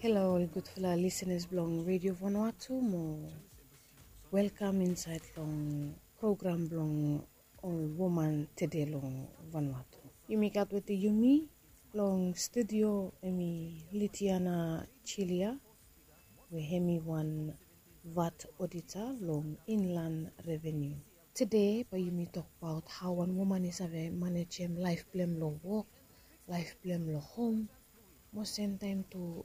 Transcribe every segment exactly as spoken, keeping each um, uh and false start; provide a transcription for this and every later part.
Halo ol gudfala lisenas blong Redio Vanuatu mo welkam insaed long program blong ol woman tede long Vanuatu. Yumi gat wetem yumi long studio hemi Litiana Chilia we hemi wan vat odita long Inland Revenue. Tede bae yumi tokbaot hao wan woman i save manejem laef blong hem long wok, laef blong hem long hom, mo semtaem tu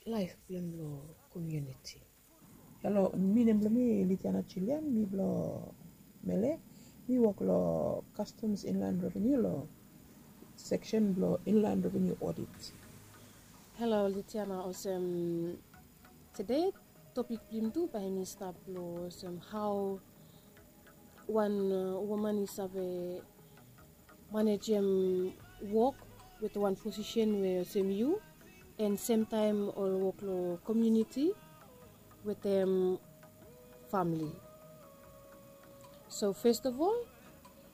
laef blong hem long komuniti. Halo, mi nem blong mi Litiana Chilia, mi blong Mele. Mi wok long Customs Inland Revenue long seksen blong Inland Revenue Audit. Halo Litiana, olsem tede topik blong yumi tu bae hemi stap long olsem hao wan woman i save manejem wok wetem wan posisen we olsem yu, and semtaem ol wok long komuniti wetem famili. So first of all,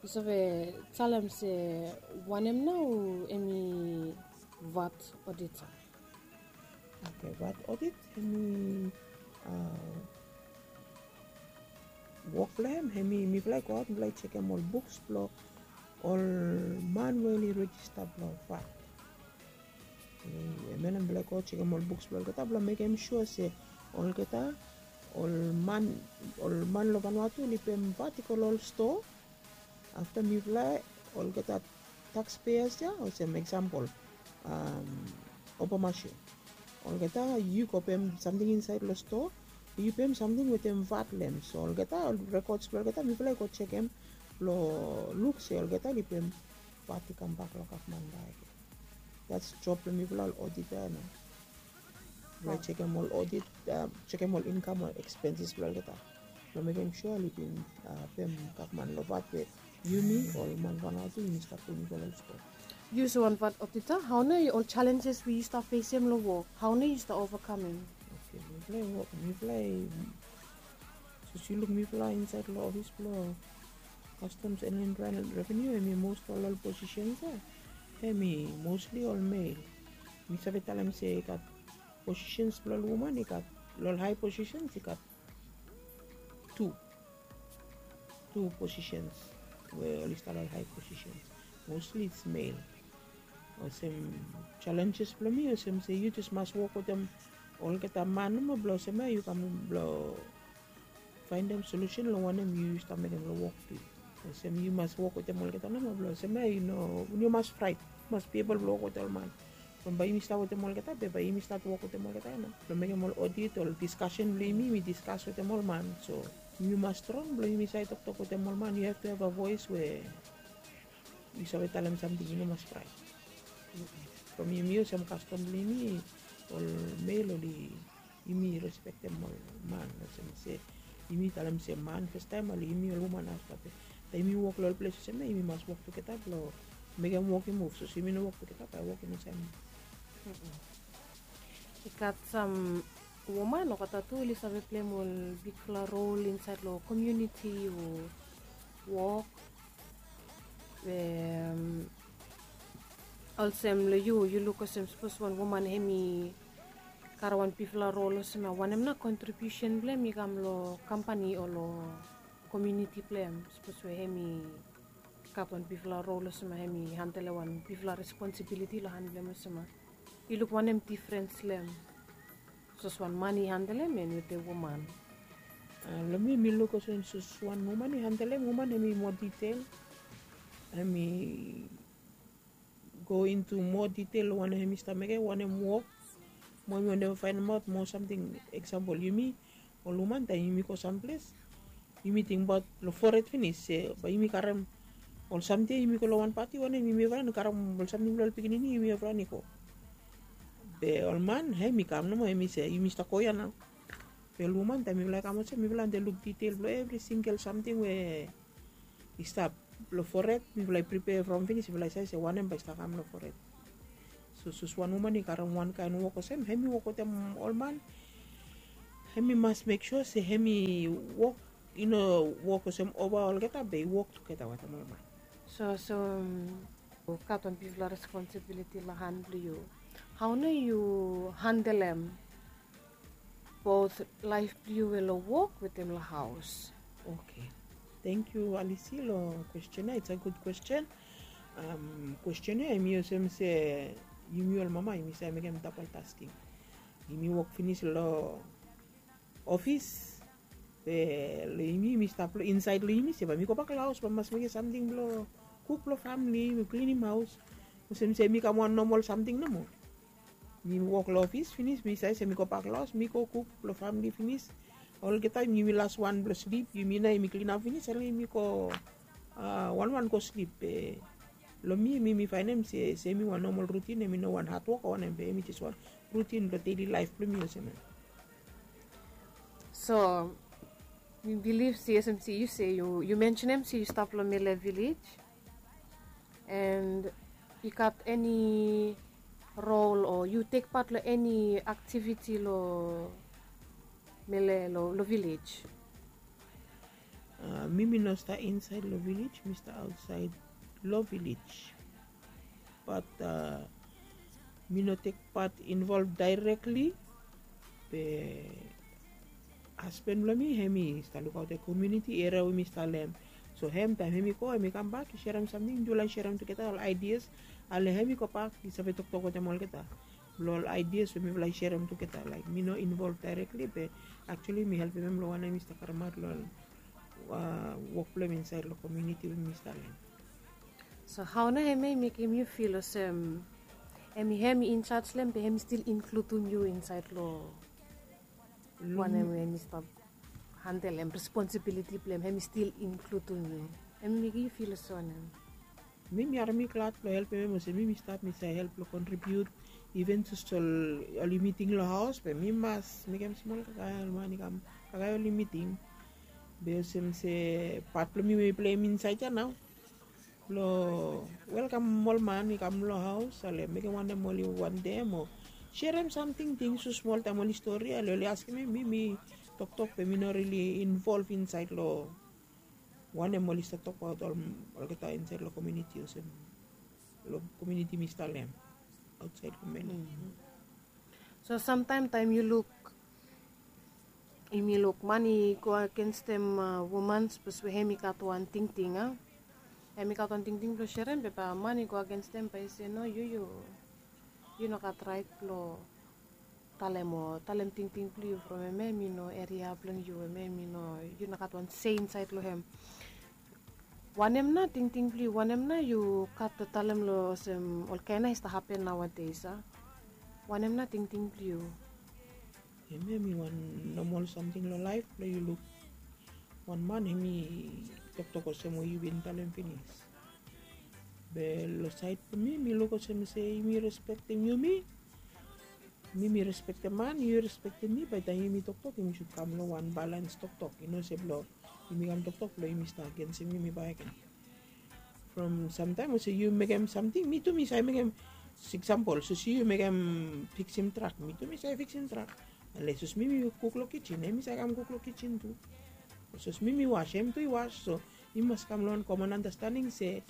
yu save talem se wanem nao hemi vat odita? Okay, vat odit hemi wok blong hem hemi mifala i goaot mifala i jekem ol buks blong ol man we oli rejista blong vat. Hemia nao mifala i go jekem ol buks blong olgeta blong mekem sua se olgeta ol man ol man long Vanuatu oli pem vat i go long ol stoa. Afta mifala olgeta taxpayers ya olsem eksampol Obamashu, olgeta yu go pem samting insaed long stoa, yu pem samting wetem vat long hem. So olgeta ol rekods blong olgeta mifala i go jekem blong luk se olgeta oli pem vat i kambak long gavman bakegen. That's job blong mifala ol odita ya nao. Mifala i jekem ol odit, jekem ol inkam o ekspenses blong olgeta blong mekem sua oli bin pem gavman long vat we yumi ol man Vanuatu yumi stap pem i go long stoa. Yu olsem wan vat odita, hao nao ol jalenjes we yu stap fesem long wok, hao nao yu stap ovakamem? Okay, mifala i wok, mifala i, sapos yu luk mifala insaed long ofis blong Customs and Inland Revenue, hemi most ol ol posisens ya hemi mostli ol mel. Mi save talem se i gat posisens blong ol woman i gat, long ol hae posisens i gat tu, tu posisens we oli stap long ol hae posisens. Mostli it's mel. Olsem jalenjes blong mi olsem se yu jes mas wok wetem olgeta man nomo blong olsem ya yu kam blong faendem solusen long wanem yu stap mekem long wok blong yu. Olsem yu mas wok wetem olgeta nomo blong olsem ya yu no, yu mas fraet, yu mas be ebol blong wok wetem ol man. From bae yumi stap wetem olgeta be bae yumi stat wok wetem olgeta ya nao blong mekem ol odit, ol diskasen blong yumi, yumi diskas wetem ol man. So yumi mas strong blong yumi save toktok wetem ol man. Yu have to have a voes we yu save talem samting, yu no mas fraet. From yumi olsem kastom blong yumi, ol mel oli, yumi respektem ol man olsem se yumi talem se man fastaem, oli yumi ol woman afta. Be taem yumi wok long ol ples olsem ya yumi mas wok tugeta blong mekem wok i muv. Sapos yumi no wok tugeta bae wok i no save muv. I gat sam woman olgeta tu oli save pleim ol bigfala rol insaed long komuniti o wok. Olsem long yu, yu luk olsem sapos wan woman hemi karem wan bigfala rol olsem ya, wanem nao kontribiusen blong hem i kam long kampani o long komuniti blong hem? Sapos we hemi gat wan bigfala rol olsem ya, hemi handelem wan bigfala responsibiliti long han blong hem olsem ya, yu luk wanem difrens long hem? Sapos wan man i handelem and wetem woman. Long mi mi luk olsem sapos wan woman i handelem, woman hemi moa ditel, hemi go intu moa ditel long wanem hemi stap mekem, wanem wok. Mo hemi wantem faenemaot moa samting. Eksampol yumi ol woman taem yumi go samples, yumi tingbaot long fored finis se bae yumi karem ol samting ya, yumi go long wan pati wanem, yumi evriwan i karem ol samting blong ol pikinini, yumi evriwan i go. Be ol man hemi kam nomo, hemi se yumi stap go ya nao. Be ol woman taem mifala i kam olsem mifala wantem luk ditel blong evri singel samting we i stap long fored, mifala i pripea from finis, mifala i save se wanem bae i stap kam long fored. So sapos wan woman i karem wan kaen wok olsem, hemi wok wetem ol man, hemi mas mek sua se hemi wok, i no wok olsem ova olgeta, be i wok tugeta wetem ol man. So, so yu gat wan bigfala responsibiliti long han blong yu. Hao nao yu handelem both laef blong yu we long wok wetem long haos. Oke. Tangkiu Alisi long kwesten ya. It's a good question. Kwesten ya hemi olsem se yumi ol mama yumi save mekem dapol tasking. Yumi wok finis long ofis, be long yumi yumi stap long insaed long yumi se bae mi gobak long haos bae mi mas mekem samting blong kuk blong famili, mi klinim haos. Olsem se mi kam wan nomol samting nomo. Mi wok long ofis finis mi save se mi gobak long haos mi go kuk blong famili finis. Olgeta yumi las wan blong slip, yumi nao yumi klinap finis, ale yumi go wanwan go slip. Be long mi mi mi faenem se hemi wan nomol rutin, hemi no wan hadwok o wanem, be hemi jes wan rutin blong deli laef blong mi olsem ya. So mi bilif se olsem se yu se yu mensenem se yu stap long Mele Vilej, and i gat eni rol o yu tek pat long eni aktiviti long Mele long vilej? Mi mi no stap insaed long vilej, mi stap aotsaed long vilej. Bat mi no tek pat involv daerekli. Be hasban blong mi hemi stap lukaotem komuniti eria we mi stap long hem. So hem taem hemi go hemi kambak i serem samting, yufala i serem tugeta ol aidias. Ale hemi gobak i save toktok wetem olgeta blong ol aidias we mifala i serem tugeta. Laek mi no involv daerekli be aktuali mi helpem hem long wanem i stap karemaot long wok blong hem insaed long komuniti we mi stap long hem. So hao nao hemia i mekem yu fil olsem hemi hem i injaj long hem be hem i stil inkludim yu insaed long wanem we hem i stap handelem responsibiliti blong hem, hem i stil inkludim yu? Hem i mekem yu fil olsem wanem? Mi mi harem mi glad blong helpem hem olsem mi mi stap mi save help blong kontribiut. Iven jes ol ol yumi ting long haos be mi mas mekem smol kakae ol man i kam kakae ol yumi ting. Be olsem se pat blong mi we mi pleim insaed ya nao blong welkam ol man i kam long haos, ale mekem wanem oli wantem o serem samting, ting so smol taem oli stori, ale oli askem mi mi toktok be mi no rili involv insaed long wanem oli stap tokbaot olgeta insaed long komuniti olsem long komuniti mi stap long hem aotsaed long Mele. So samtaem taem yu luk yumi luk man i go agenstem woman sapos we hem i gat wan tingting a hem i gat wan tingting blong serem be bae man i go agenstem bae i se no, yu yu yu no gat raet blong talem o talem tingting blong yu from hemia hemi no eria blong yu, hemia hemi no, yu no gat wan se insaed long hem. Wanem nao tingting blong yu? Wanem nao yu gat long talem long olsem olkaen nao i stap hapen naoades a? Wanem nao tingting blong yu? Hemia hemi wan nomol samting long laef blong yu luk wan man hemi toktok olsem we yu bin talem finis. Be long saed blong mi mi luk olsem se yumi respektem yumi. Mi mi respektem man, yu respektem mi, bae taem yumi toktok yumi sud kam long wan balans toktok, i no se blong yumi kam toktok blong yumi stap agensem yumi bakegen. From samtaem olsem yu mekem samting mi tu mi save mekem. Eksampol sapos yu mekem fiksim trak, mi tu mi save fiksim trak. Ale sapos mi mi kuk long kijin hem i save kam kuk long kijin tu. Sapos mi mi was hem tu i was. So yumi mas kam long wan komon andastaning se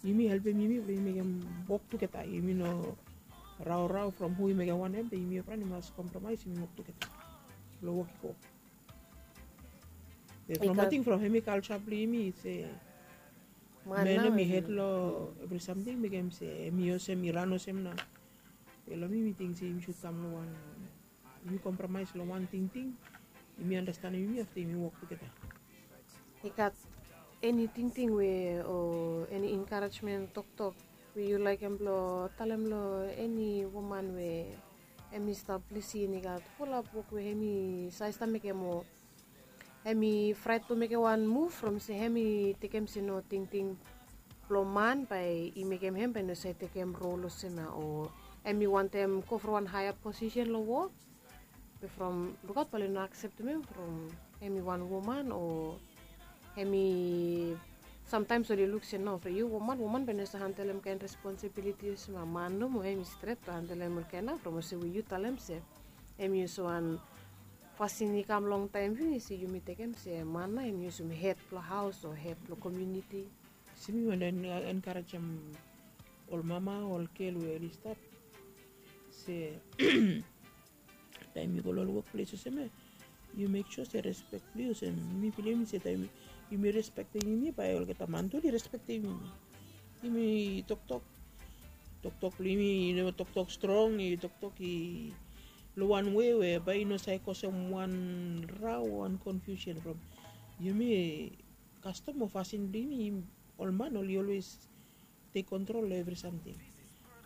yumi helpem yumi blong yumi mekem wok tugeta, yumi no raorao from hu i mekem wanem be yumi evriwan i mas kompromaes yumi wok tugeta blong wok i go. Be from ating from hem i kalja blong yumi se man nao hem i hed long evri samting mekem se hem i olsem i ran olsem nao. Be long mi mi ting se yumi sud kam long wan yumi kompromaes long wan tingting. Yumi andastanem yumi afta yumi wok tugeta. I gat eni tingting we o eni enkarejmen toktok we yu laekem blong talem long eni woman we hem i stap lisin i gat fulap wok we hem i save stap mekem o hem i fraet blong mekem wan muv from se hem i tekem se no tingting blong man bae i mekem hem bae i no save tekem rol olsem ya o hem i wantem go from wan haea posisen long wok. Be from lukaot bae oli no akseptem hem from hem i wan woman o hem i samtaems oli luk se no from yu woman woman bae i no save handelem kaen responsibiliti olsem ya, man nomo hem i stret blong handelem olkaen ya from olsem we yu talem se hem i olsem wan fasin i kam longtaem finis se yumi tekem se man nao hem i olsem hed blong haos o hed blong komuniti. Olsem mi wantem enkarejem ol mama ol gel we oli stap se Taem yu go long ol wokples olsem ya, yu mek sua se respek blong yu olsem, mi bilivim se taem yumi respektem yumi, bae olgeta man tu oli respektem yumi. Yumi toktok, toktok blong yumi i no toktok strong, i toktok i long wan wei we bae i no save kosem wan rao, wan konfiusen from yumi. Kastom o fasin blong yumi, ol man oli olwes tek kontrol long evri samting.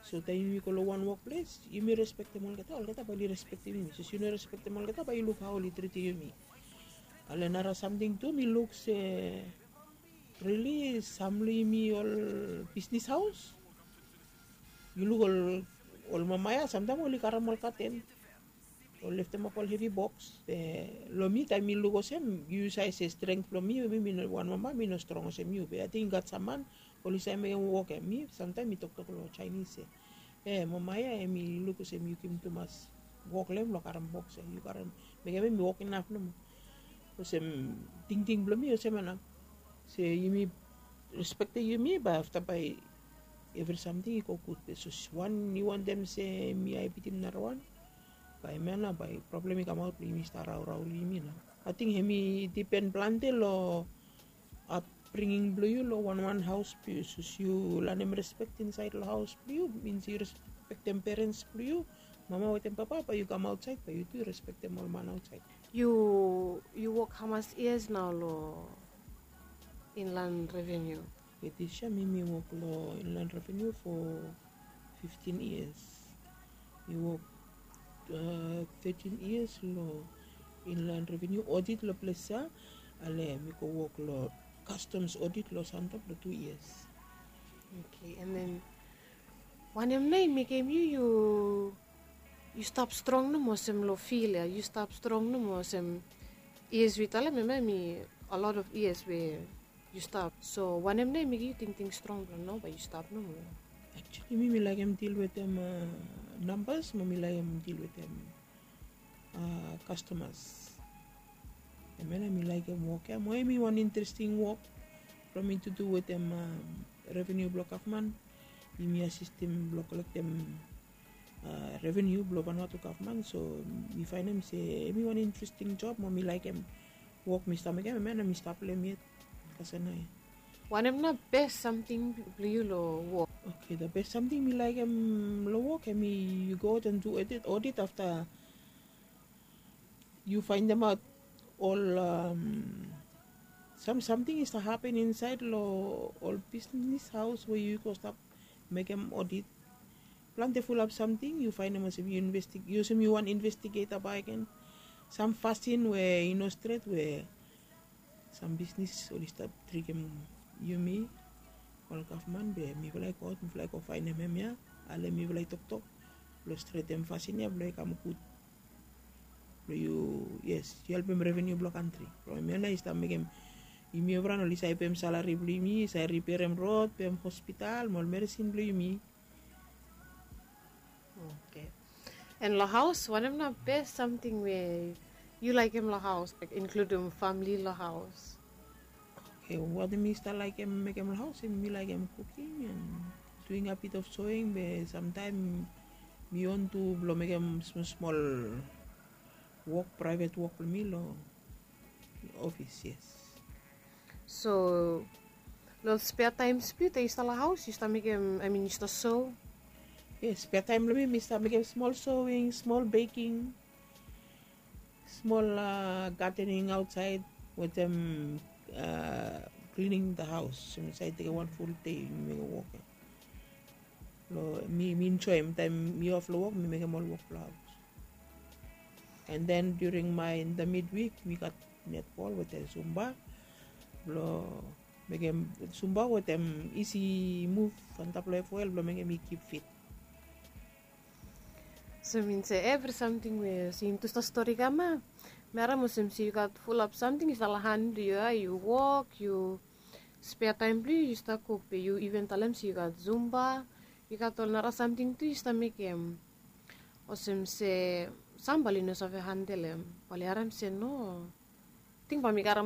So taem yumi go long wan wokples, yumi respektem olgeta, olgeta bae oli respektem yumi. Sapos yu no respektem olgeta, bae yu luk hao oli tritim yumi. Ale nara samting tu mi luk se rili sam long yumi ol bisnis haos, yu luk ol, ol mama ya samtaem oli karem ol katen, ol leftemap ol hevi boks. Be long mi taem mi luk olsem, yu save se strength blong mi, mi, mi no wan mama, mi no strong olsem yu. Be ating i gat sam man oli save mekem wok ya. Mi samtaem mi toktok long Jaenis se, e, mama ya hemi luk olsem yu givim tumas wok long hem blong karem boks ya. Yu karem, mekem hem i wok inaf nomo. Olsem tingting blong mi olsem ya nao. Se yumi respektem yumi, bae afta bae evri samting i go gud. Be sapos wan i wantem se mi hae bitim narawan, bae hemia nao bae problem i kamaot blong yumi stap raorao long yumi nao. Ating hemi dipen plante long apbringing blong yu long wanwan haos blong yu. Sapos yu lanem respek insaed long haos blong yu, min yu respektem perens blong yu, mama wetem papa, bae yu kam aotsaed bae yu tu yu respektem ol man aotsaed. Yu, yu wok hamas yias nao long Inland Revenue? Be dis yia mi mi wok long Inland Revenue fo fiftin yias. Mi wok, a, tetin yias long Inland Revenue odit long ples ya. Ale mi go wok long Customs odit long Santap long tu yias. Oke, an den wanem nao i mekem yu, yu, yu stap strong nomo olsem long fil ya, yu stap strong nomo olsem, yias we yu talem hemia hemi a lot of yias we yu stap. So wanem nao i mekem yu tingting strong blong nao bae yu stap nomo? Actually mi mi laekem dil wetem, a, nambas mo mi laekem dil wetem, a, kastomas. Hemia nao mi laekem wok ya mo hemi wan interesting wok blong mi tu du wetem, a, reveniu blong gavman. Yumi asistem blong kolektem, a, reveniu blong Vanuatu gavman. So mi faenem se hemi wan interesting job mo mi laekem wok mi stap mekem, hemia nao mi stap long hem yet. Kasem nao ya. Wanem nao bes samting blong yu long wok? Oke, the best samting mi laekem long wok hemi yu go aot an du odit, odit afta yu faendemaot ol, a, sam samting i stap hapen insaed long ol bisnis haos we yu go stap mekem odit. Plante fulap samting yu faenem olsem yu investig-, yu olsem yu wan investigeta bakegen. Sam fasin we i no stret we sam bisnis oli stap trikem yumi, ol gavman, be mifala i go aot, mifala i go faenem hemia. Ale mifala i toktok blong stretem fasin ya blong i kam gud. Blong yu, yes, yu helpem reveniu blong kantri. From hemia nao i stap mekem yumi evriwan oli save pem salari blong yumi, save riperem rod, pem hospital mo ol meresin blong yumi. Oke. An long haos, wanem nao bes samting we yu laekem long haos, laek inkludim famili long haos? Oke, wanem mi stap laekem mekem long haos, hemi mi laekem kuking an duing a bit of soing, be samtaem mi on tu blong mekem smol smol wok, praevet wok blong mi long ofis, yes. So long ol spea taems blong yu taem yu stap long haos, yu stap mekem, I mean, yu stap so? Yes, spea taem blong mi, mi stap mekem smol soing, smol beking, smol, a, gadening aotsaed wetem, a, cleaning the house. So mi save tekem wan ful dei mi mekem wok ya. Long mi, mi enjoem taem mi of long wok, mi mekem ol wok blong haos. An den during my, in the midweek, mi gat netbol wetem Zumba blong mekem Zumba wetem isi muv antap long F O L blong mekem mi kip fit. So min se evri samting we, se yumi tu stap stori kam ya, mi harem olsem se yu gat fulap samting i stap long han blong yu ya, yu wok, yu spea taem blong yu, yu stap kuk, be yu iven talem se yu gat Zumba, yu gat ol nara samting tu yu stap mekem. Olsem se sam bae oli no save handelem, bae oli harem se no. Ting bae mi karem